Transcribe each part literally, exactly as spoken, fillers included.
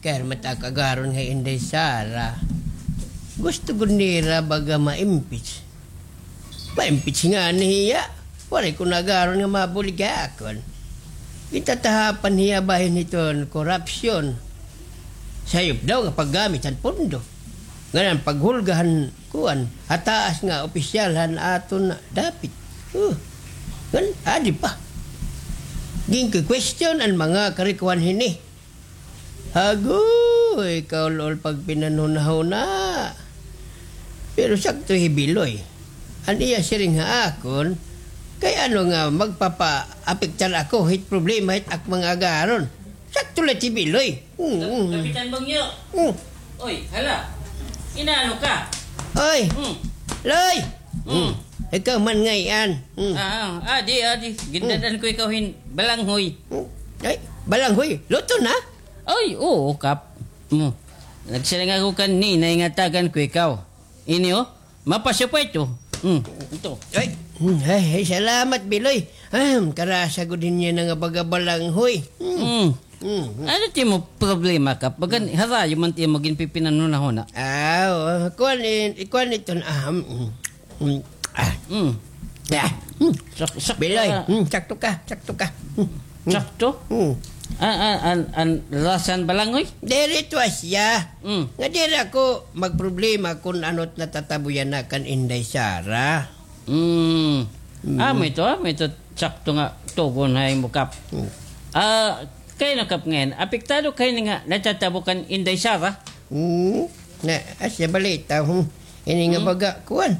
Kay mat ak agaron nga Inday Sara. Gusto gud nira baga ma-impeach. Ma-impeach ngani hiya. Waray ko nagaron nga mabulig ha akon. Gintatahapan hiya bahin hiton korupsyon. Sayop daw nga paggamit han pondo. Ngan an paghulga han kuan, ha taas nga opisyal han aton dapit. Oh. Ngan, adi pa. Ginki-question an mga karikuan hini. Agoy, kaul-ol pagpinanhunahuna. Pero sakto hi Biloy. An iya siring ha akon, kay ano nga magpapaapektar ako hit problema hit ak mga agaron. Sakto la hi Biloy. Mm, mm. Kapitan Bangyo. Mm. Oy, hala. Inaano ka? Oy. Mm. Loy. Mm. Mm. Ikaw man ngay-an. Mm. Ah, ah, adi, adi. Gindadan ko ikaw hin balanghoy. Mm. Ay, balanghoy. Luto na? Ay, oo, Kap. Mm. Nagsiring ako kan Ninay nga tagan ko ikaw. Ini, oh. Mapasya pa ito. Mm, ito. Ay, mm, ay, ay, salamat, Biloy. Ah, karasa gud niya na nga baga balanghoy. Mm. Mm. Mm, mm. Ano ti mo problema, Kap? Bagan, harayo man ti mo ginpipinanhunahuna. Ah, oo. Kuan, eh, kuan ito na, ah, mm, mm, ah. Mm. Ah, mm. Sak-, sak-, Biloy, ah. Mm, sakto ka, sakto ka. Mm. Sakto? Mm. An, an, an, an lasan balanghoy? Diri ito asya. Mm. Nga diri ako magproblema kun ano't natatabuyan na kan Inday Sara. Mm. Mm. Amo ito, amo ito, sakto nga tugon ha imo, Kap. Mm. Ah, kay ano, Kap, ngay-an? Apektado kay nga natatabo kan Inday Sara? Hmm. Na, asya balita, hmm. Ini nga baga, kuan.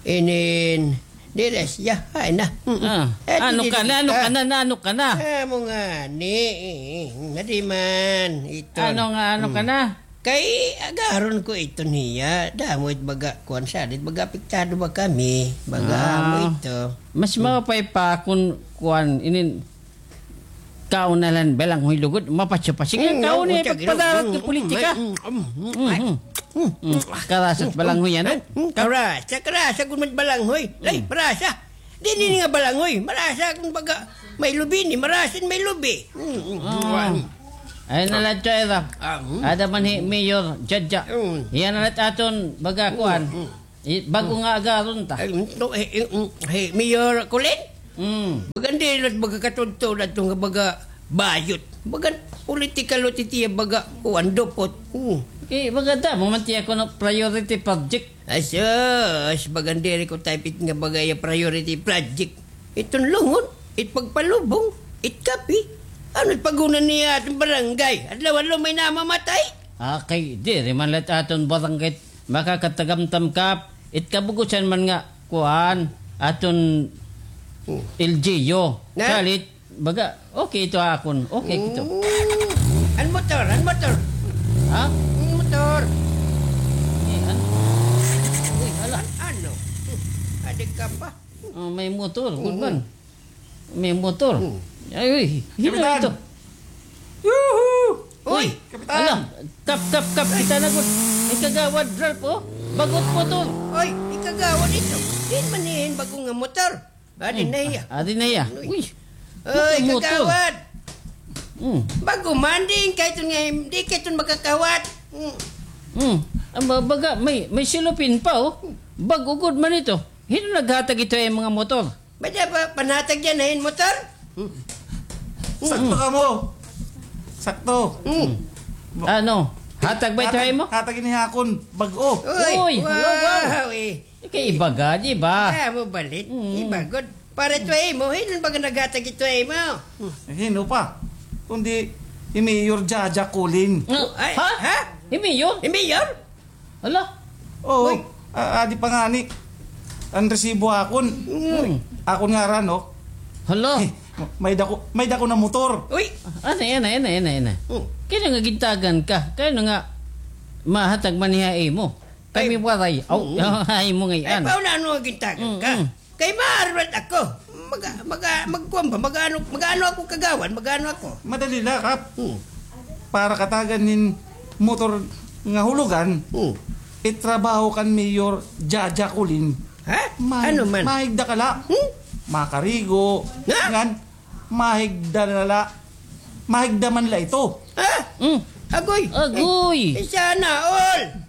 Inin, diri asya, ay na. Hmm. Ah. Eh, ano ka na, ano ka na, na, ano ka na? Ah, mo nga, ni, eh, eh, nadi man, ito. Ano nga, ano ka na? Kay, agaron ko ito niya. Damo it baga, kuan sa, dit baga apektado ba kami? Baga, amo ito. Mas maupay pa kun, kuan, inin, Kaon na la hin balanghoy lugod, mapasya-pasya. Mm, kaon na, pagpadarat ka politika. Mm, mm, mm, mm. Karasat balanghoy, ano? Mm, karasa, karasa gud man balanghoy. Ay, marasa. Diri ini nga balanghoy. Marasa kun baga may lubi ini, marasa ini may lubi. Mm, mm. Ay, na la ito, Ira. Ada man hi Mayor Jaja. Hiya na la it aton baga kuan. Bag-o nga agaron ta. Ay, no, eh, eh, mm, eh, Mayor Colin? Mm. Bagan diri la it baga katudtod adto nga baga bayot. Bagan political o titiya baga kuan dupot. Mm. Eh, baga damo man tiya kuno priority project. Ay, sus, bagan diri ko type it nga baga iya priority project. Iton lungon, it pagpalubong, it kape. Ano it pag-una niya aton barangay? Adlaw-adlaw may namamatay. Ah, kay diri man la it aton barangay makakatagamtam, Kap, it kabugusan man nga, kuan, aton L G U. Na? Salit, baga, okay ito akon. Okay ito. Mm. An motor, an motor. Ha? An motor. Eh, an-, uy, hala. An-, ano? Adik ka pa. Ah, may motor, good man. May motor. Ay, uy, hino ito? Yuhu! Uy, Kapitan! Ala, Kap, Kap, Kap, kita na gud. Ikagawad, Ralph, oh. Bag-o it motor. Uy, ikagawad ito. Diin man niya hin bag-o nga motor? Adi na iya. Adi na iya. Uy. Uy, motor. Kagawad. Mm. Bag-o man, di kay iton nga, di kay iton makakawat. Mm. Mm. Ang ba-, baga, may, may silupin pa, oh. Bag-o gud man ito. Hino naghatag ito hin mga motor? May-ada pa panhatag yana hin motor? Sakto kamo. Sakto. Ano? Hatag ba ito ha imo? Hatag ini ha akon bag-o. Uy, wow, wow, eh. Kay iba gad, iba. Ah, mo balit. Iba gud. Para ito ha imo, hin-o baga naghatag ito ha imo? Hin-o pa? Kundi hi Mayor Jaja Colin. Ay, ha? Hi Mayor? Hi Mayor? Hala. Oo. Uy. A-, adi pa ngani an resibo akon. Mm. Akon ngaran, oh. Hala. Eh, may-ada ko, may-ada ko na motor. Uy. Anay, anay, anay, anay, anay. Mm. Kay ano nga gintagan ka? Kay ano nga mahatag man ha imo? Kami waray. Aw, ha imo ngay-an. Ay, paano ano nga gintagan ka? Mm, mm. Kay maaram ako. Maga-, maga-, magkuan ba? Mag-ano, mag-ano ako kagawad? Mag-ano ako? Madali la, Kap. Hmm. Para katagan hin motor nga hulugan, itrabaho kan Mayor Jaja Colin. Ha? Ano man? Mahigda ka la. Hmm? Makarigo. Ha? Ngan, mahigda na la. Mahigda man la ito. Ha? Hmm. Agoy. Agoy. Ay, sana all.